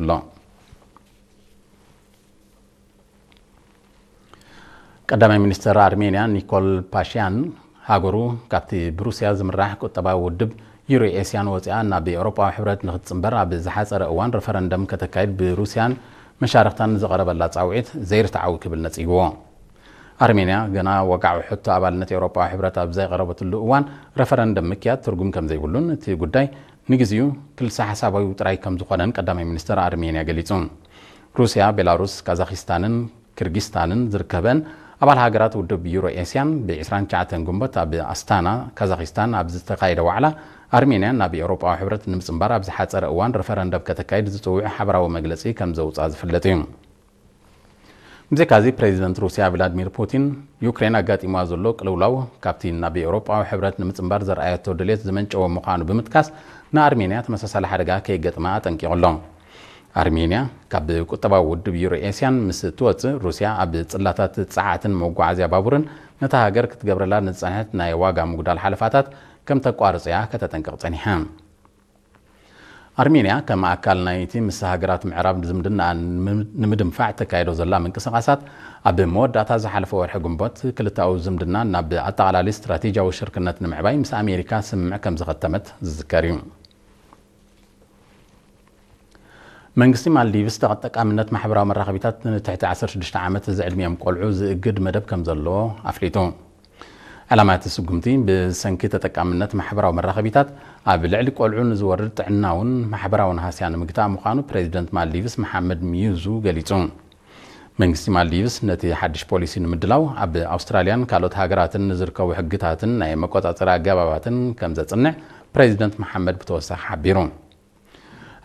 ኣሎ። ቀዳማይ ሚኒስትር ኣርሜንያ ኒኮል ፓሽያን፣ ሃገሩ ካብቲ ብሩስያ ዝምራሕ ቁጠባዊ ውድብ ዩሮ ኤስያን ወፂኣ ናብ ኤውሮጳዊ ሕብረት ንክትፅምበር ኣብ ዝሓፀረ እዋን ረፈረንደም ከተካይድ ብሩስያን መሻርክታን ዝቐረበላ ፃውዒት ዘይርትዓዊ ክብል ነፂግዎ። ኣርሜንያ ገና ወግዓዊ ሕቶ ኣባልነት ኤውሮጳዊ ሕብረት ኣብ ዘይቐረበትሉ እዋን ረፈረንደም ምክያድ ትርጉም ከም ዘይብሉን እቲ ጉዳይ ንግዚኡ ክልሰ ሓሳባዊ ጥራይ ከም ዝኾነን ቀዳማይ ሚኒስትር ኣርሜንያ ገሊጹ። ሩስያ፣ ቤላሩስ፣ ካዛኪስታንን ኪርጊስታንን ዝርከበን ኣባል ሃገራት ውድብ ዩሮ ኤስያን ብ29 ግንቦት ኣብ ኣስታና ካዛኪስታን ኣብ ዝተኻየደ ዋዕላ ኣርሜንያ ናብ ኤውሮጳዊ ሕብረት ንምጽንባር ኣብ ዝሓጸረ እዋን ረፈረንደም ከተካይድ ዝጽውዕ ሓበራዊ መግለጺ ከም ዘውጽኣ ዝፍለጥ እዩ። ብዘይካዚ ፕሬዚደንት ሩስያ ቭላድሚር ፑቲን ዩክሬን ኣጋጢምዋ ዘሎ ቅልውላው ካብቲ ናብ ኤውሮጳዊ ሕብረት ንምጽንባር ዘርኣየቶ ድሌት ዝመንጨወ ምዃኑ ብምጥቃስ ንኣርሜንያ ተመሳሳሊ ሓደጋ ከይገጥማ ኣጠንቂቑ ኣሎ። ኣርሜንያ ካብ ቁጠባዊ ውድብ ዩሮ ኤስያን ምስ እትወጽእ ሩስያ ኣብ ጽላታት ጸዓትን መጓዓዝያ ባቡርን ነታ ሃገር ክትገብረላ ንዝጸንሐት ናይ ዋጋ ምጉዳል ሓለፋታት ከም ተቋርጽ እያ ከተጠንቅቕ ጸኒሓ። ኣርሜንያ ከም ኣካል ናይቲ ምስ ሃገራት ምዕራብ ዝምድና ንምድንፋዕ ተካይዶ ዘላ ምንቅስቓሳት ኣብ መወዳእታ ዝሓለፈ ወርሒ ግንቦት ክልተኣዊ ዝምድና ናብ ኣጠቓላሊ ስትራቴጂያዊ ሽርክነት ንምዕባይ ምስ ኣሜሪካ ስምምዕ ከም ዝኸተመት ዝዝከር እዩ። መንግስቲ ማልዲቭስ ተጠቃምነት ማሕበራዊ መራኸቢታት ንትሕቲ 16 ዓመት ዝዕድሚኦም ቆልዑ ዝእግድ መደብ ከም ዘለዎ ኣፍሊጡ። ዕላማ እቲ ስጉምቲ ብሰንኪ ተጠቃምነት ማሕበራዊ መራኸቢታት ኣብ ልዕሊ ቆልዑ ንዝወርድ ጥዕናውን ማሕበራውን ሃስያ ንምግታእ ምዃኑ ፕሬዚደንት ማልዲቭስ መሓመድ ሚዩዙ ገሊጹ። መንግስቲ ማልዲቭስ ነቲ ሓድሽ ፖሊሲ ንምድላው ኣብ ኣውስትራልያን ካልኦት ሃገራትን ንዝርከቡ ሕግታትን ናይ መቆጻጸሪ ኣገባባትን ከም ዘጽንዕ ፕሬዚደንት መሓመድ ብተወሳኺ ሓቢሩ።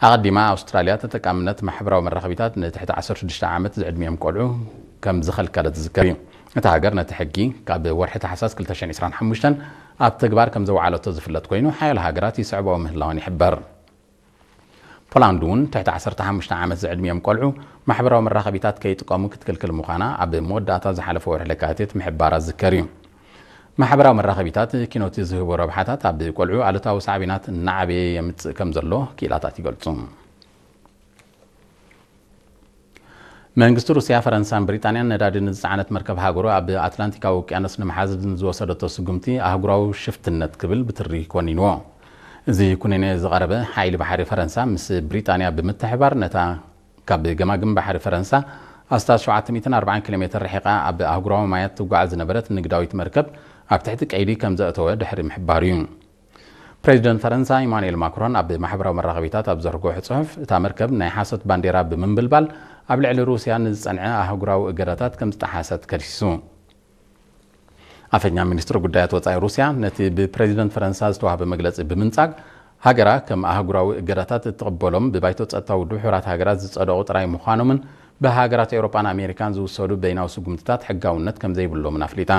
ኣቐዲማ ኣውስትራልያ ተጠቃምነት ማሕበራዊ መራኸቢታት ንትሕቲ 16 ዓመት ዝዕድሚኦም ቆልዑ ከም ዝኸልከለት ዝዝከር እዩ። እታ ሃገር ነቲ ሕጊ ካብ ወርሒ ታሕሳስ 2025 ኣብ ተግባር ከም ዘውዓለቶ ዝፍለጥ ኮይኑ ሓያሎ ሃገራት ይስዕባኦ ምህላወን ይሕበር። ፖላንድ እውን ትሕቲ 15 ዓመት ዝዕድሚኦም ቆልዑ ማሕበራዊ መራኸቢታት ከይጥቀሙ ክትክልክል ምዃና ኣብ መወዳእታ ዝሓለፈ ወርሒ ለካቲት ምሕባራ ዝዝከር እዩ። ማሕበራዊ መራኸቢታት ኪኖቲ ዝህቦ ረብሓታት ኣብ ቆልዑ ኣሉታዊ ሳዕቤናት እናዓበየ የምጽእ ከም ዘሎ ክኢላታት ይገልጹ። መንግስቲ ሩስያ፣ ፈረንሳን ብሪጣንያን ነዳዲ ንዝጸዓነት መርከብ ሃገሩ ኣብ ኣትላንቲካዊ ውቅያኖስ ንምሓዝ ንዝወሰደቶ ስጉምቲ ኣህጉራዊ ሽፍትነት ክብል ብትሪ ኮኒንዎ። እዚ ኩነኔ ዝቐረበ ሓይሊ ባሕሪ ፈረንሳ ምስ ብሪጣንያ ብምትሕባር ነታ ካብ ገማግም ባሕሪ ፈረንሳ ኣስታት 740 ኪሎ ሜትር ርሒቓ ኣብ ኣህጉራዊ ማያት ትጓዓዝ ዝነበረት ንግዳዊት መርከብ ኣብ ትሕቲ ቀይዲ ከም ዘእተወ ድሕሪ ምሕባሩ እዩ። ፕሬዚደንት ፈረንሳ ኢማኑኤል ማክሮን ኣብ ማሕበራዊ መራኸቢታት ኣብ ዘርግሖ ጽሑፍ፣ እታ መርከብ ናይ ሓሶት ባንዴራ ብምንብልባል ኣብ ልዕሊ ሩስያ ንዝጸንዐ ኣህጉራዊ እገዳታት ከም ዝጠሓሰት ከሲሱ። ኣፈኛ ሚኒስትሪ ጉዳያት ወጻኢ ሩስያ ነቲ ብፕሬዚደንት ፈረንሳ ዝተዋህበ መግለጺ ብምንጻግ፣ ሃገራ ከም ኣህጉራዊ እገዳታት እትቕበሎም ብባይቶ ጸጥታ ውድብ ሕቡራት ሃገራት ዝጸደቑ ጥራይ ምዃኖምን ብሃገራት ኤውሮጳን ኣሜሪካን ዝውሰዱ በይናዊ ስጉምትታት ሕጋውነት ከም ዘይብሎምን ኣፍሊጣ።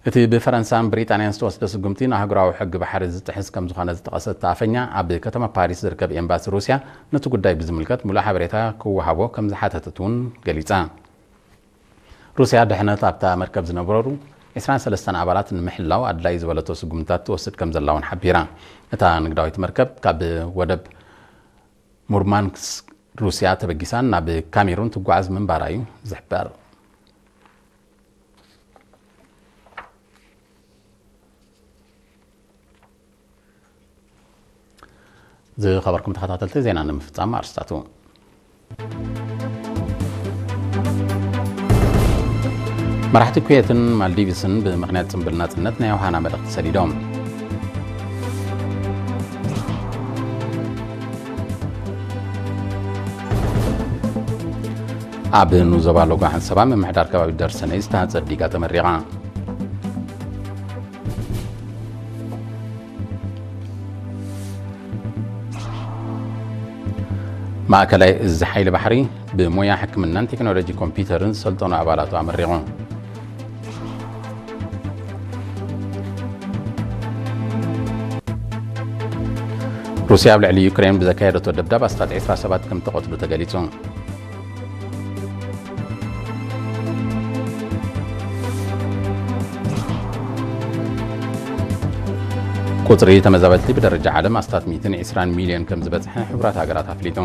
እቲ ብፈረንሳን ብሪጣንያን ዝተወስደ ስጉምቲ ንኣህጉራዊ ሕጊ ባሕሪ ዝጥሕስ ከም ዝኾነ ዝጠቐሰት እታ ኣፈኛ፣ ኣብ ከተማ ፓሪስ ዝርከብ ኤምባሲ ሩስያ ነቲ ጉዳይ ብዝምልከት ሙሉእ ሓበሬታ ክወሃቦ ከም ዝሓተተት እውን ገሊጻ። ሩስያ ድሕነት ኣብታ መርከብ ዝነበሩ 23 ኣባላት ንምሕላው ኣድላዪ ዝበለቶ ስጉምትታት ትወስድ ከም ዘላ እውን ሓቢራ። እታ ንግዳዊት መርከብ ካብ ወደብ ሙርማንስክ ሩስያ ተበጊሳ ናብ ካሜሩን ትጓዓዝ ምንባራ እዩ ዝሕበር። ዝኸበርኩም ተኸታተልቲ፣ ዜና ንምፍጻም ኣርስታቱ። መራሕቲ ኩዌትን ማልዲቭስን ብምኽንያት ጽምብል ናጽነት ናይ ዮሃና መልእኽቲ ሰዲዶም። ኣብ ንዞባ ሎጎ ዓንሰባ ምምሕዳር ከባቢ ደርሰነይ ዝተሃንጸት ዲጋ ተመሪቓ። ማእከላይ እዚ ሓይሊ ባሕሪ ብሞያ ሕክምናን ቴክኖሎጂ ኮምፒውተርን ዝሰልጠኑ ኣባላቱ ኣመሪቑ። ሩስያ ኣብ ልዕሊ ዩክሬን ብዘካየደቶ ደብዳብ ኣስታት 27 ከም ተቐትሉ ተገሊጹ። ቁጽሪ ተመዛበልቲ ብደረጃ ዓለም ኣስታት 120 ሚልዮን ከም ዝበጽሐ ሕቡራት ሃገራት ኣፍሊጡ።